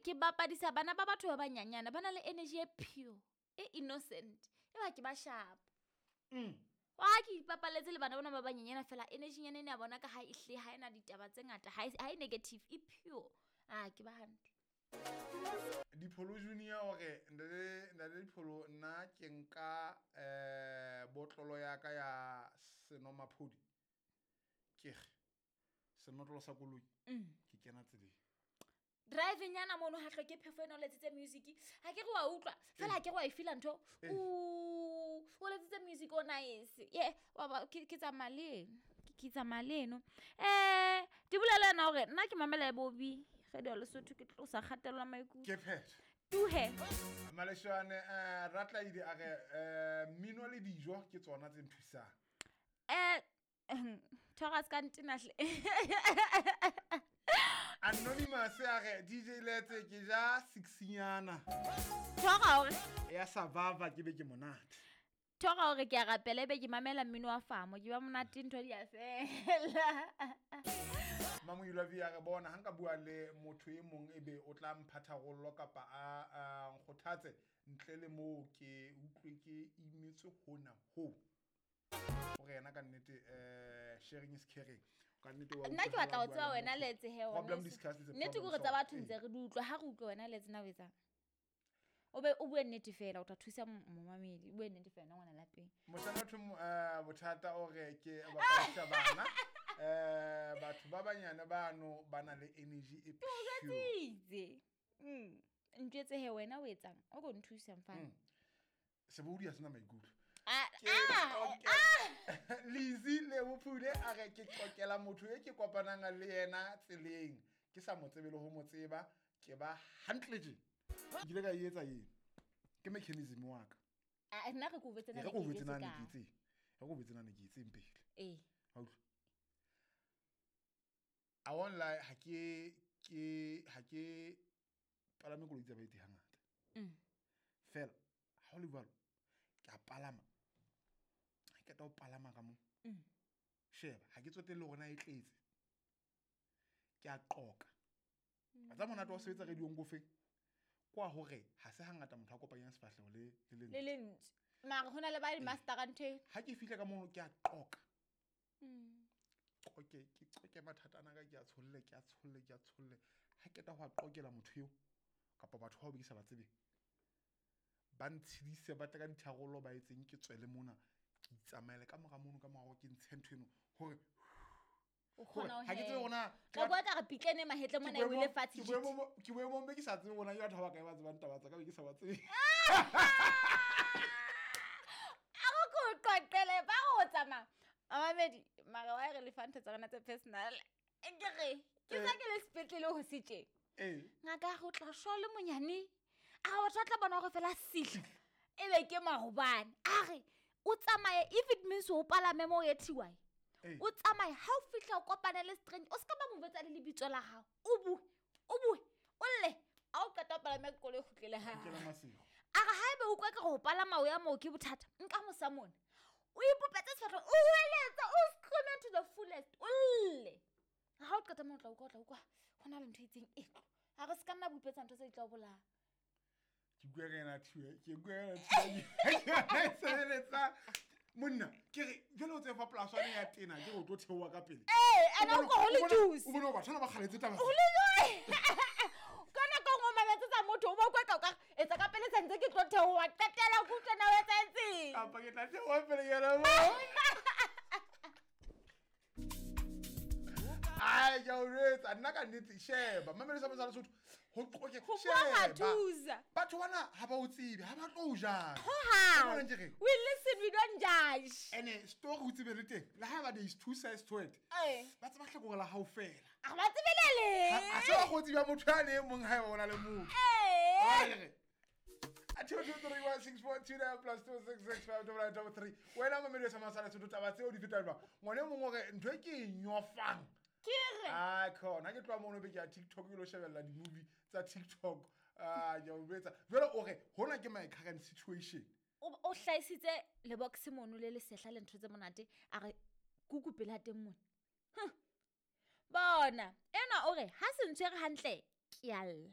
Ke bapadisa bana ba batho ba banyanyana ba na le energy e pure e innocent e ba ke ba sharp. Wa ke ipapaletse le bana bona ba banyenyana fela energy nyana ene ya bona ka ha e hle ha ena ditaba tse ngata ha e negative e pure. A ke ba hantle. Dipholo Junior hore ntate Dipholo nna ke nka botlolo ya ka ya senomaphodi ke re senotlolo sa koloi ke kena tseleng. Driving yana mono ha hloke phefo ena o letsitse music ha ke re wa utlwa fela ha ke re wa e feel ntho o letsitse music o nice ye wa ba ke tsamaya le eno ke tsamaya le eno. Di bolela yena hore nna ke mamela Bobby Radio Lesotho ke tlosa kgatello ya maikutlo. Ke phetho. Tuhe. Maleshwane Ratlaidi a re mmino le dijo ke tsona tse nthusang. Thoga se ka ntena hle. Anonymous a re DJ Letse ke ja 6nyana. Thoga hore ya survivor ke be ke monate. Thoga hore ke a rapela ebe ke mamela mmino wa famo ke ba monate ntho di a fela. Mamoilwa V a re bona ha nka bua le motho e mong ebe o tla mpha tharollo kapa a nkgothatse ntle le moo ke utlwe ke imetswe hona ho. Hore yena ka nnete sharing is caring. Ka nnete wa Nna ke utlwa batla ho ha tseba bua le wena motho. Letse he, Problem wena discussed is a nnete ke problem hore tsa solved. batho ntse re di utlwa, ha re utlwe wena Letse na o etsang? O be o bue nnete fela, o tla thusa momamedi, o bue nnete fela ngwana lapeng. Moshana thwe bothata o re ke bapadisa bana. Batho ba banyane bano ba na le energy e Ke o pure. jwetsitse. Ntjwetse he wena o etsang? O ko nthusa mfana. Sebohodi ha sena maikutlo. Ah, Ke ah, qoke- ah. Lizzy Lebophule a re ke qoqela motho e ke kopanang le yena tseleng. Ke sa mo tsebe le ho mo tseba, ke ba hantle tje. Ke ile ka e etsa eng? Ke mechanism wa ka. Ah, nna re ko botse na Re ko ke botse na jwetse ne ka. ke itseng. Re ko botse na ne ke itseng pele. Ee. Ha utlwa. I won't lie, ha ke palame koloi tsa baeti hangata. Fela, ha ho le jwalo, ke a palama. Ha ke qeta ho palama ka moo. Sheba, ha ke tsotelle hore na e tletse. Ke a qoka. Wa tseba monate wa ho sebetsa radio-ong ko feng? Kwa hore ha se hangata motho a kopanyang sefahleho le lentswe. Le lentswe. Mara ho na le ba di-master-a ntho e. Ha ke fihla ka mono ke a qoka. Qoke, ke qoke mathata ana ka, ke a tsholle, ke a tsholle, ke a tsholle. Ha ke qeta ho a qokela motho eo kapa batho bao be ke sa ba tsebeng, ba ntshedise, ba tle ka ditharollo, ba etseng ke tswele mona, ke itsamaele ka mora mono, ka mora hore ke ntshe ntho eno hore O kgona ho ha ke tsebe hema. hore na Ka bua ka re pitlene mahetle mona e wele fatshe Ke jit. boemong be ke sa tsebe hore na ke batho ba bakae ba tsebang taba tsa ka, be ke sa ba tsebe. A re ko qoqele, ba re o tsamaya. Mamamedi, mara wa re lefa ntho tsa rona tse personal. Ke re, ke sa ke le sepetlele ho se tje. Ngaka ya re o tla shwa le monyane. A re batho ba tla bona hore fela sihla. Ebe ke maobane. A re, o tsamaye, if it means o palame moo o ye TY. O tsamaye, ha o fihla o kopane le strange, o se ka ba mo botsa le lebitso la hao. O bue, o bue, o lle. Ha o qeta ho palama koloi e kgutlele hae. Kgutlela Maseru. A re haebe o utlwa ekare ho palama o ya moo ke bothata, nka mosa mona. O ipopetse sefahleho, o hweletsa, o scream to the fullest, o lle. Ha o qeta moo o tla utlwa, o tla utlwa ho na le ntho e itseng e tlo. Ha re se ka nna bupetsa ntho tse di tla o bolaya. Ke bua ka yena thiwe, ke bua ka yena thiwe. Ke sebeletsa monna, ke re jwale o tseba fa polasi ya tena, ke re o tlo theoha ka pele. Ee, ene o utlwa ho le juice. O bone hore batho bana ba kgaletse taba. Ho le juice. Ka nako e nngwe o mametse tsa motho, o ba utlwa ka o ka re, etsa ka pele sentse ke tlo theoha, qetela ke utlwe na o etsahetseng. Kapa ke tla theoha pele ke yena moo. Ai, ke a o jwetsa, nna ka nnete, sheba, mamelo sa Mosala Sotho, ho qoke, Ho bua sheba. thusa. Batho bana ha ba o tsebe, ha ba tlo o judge. Ho hang. O bona ntse re? We listen, we don't judge. Ene, story o tsebe le teng, le haeba there is two sides to it. Ba tseba hlakore la hao fela. A ba tsebe le leng. Ha se ba kgotsi ba motho ya le mong haeba o na le motho. Wa re? A 2 2 3 1 6 4 2 9 plus 2 6 6 5 double nine double three. Wena mamelo sa Mosala Sotho, taba tseo di feta jwang? Ngwana e mong o re, ntho e ke e nyofang. Ke re. Ah, khona ke tloha mono be ke ya TikTok ke lo shebella di-movie tsa TikTok. Ah, ke a o jwetsa. Jwale o re, hona ke my current situation. O hlahisitse lebox mono le lesehla le ntho tse monate, a re kuku pela teng mona. Bona, enwa o re ha se ntshwere hantle, ke a lla.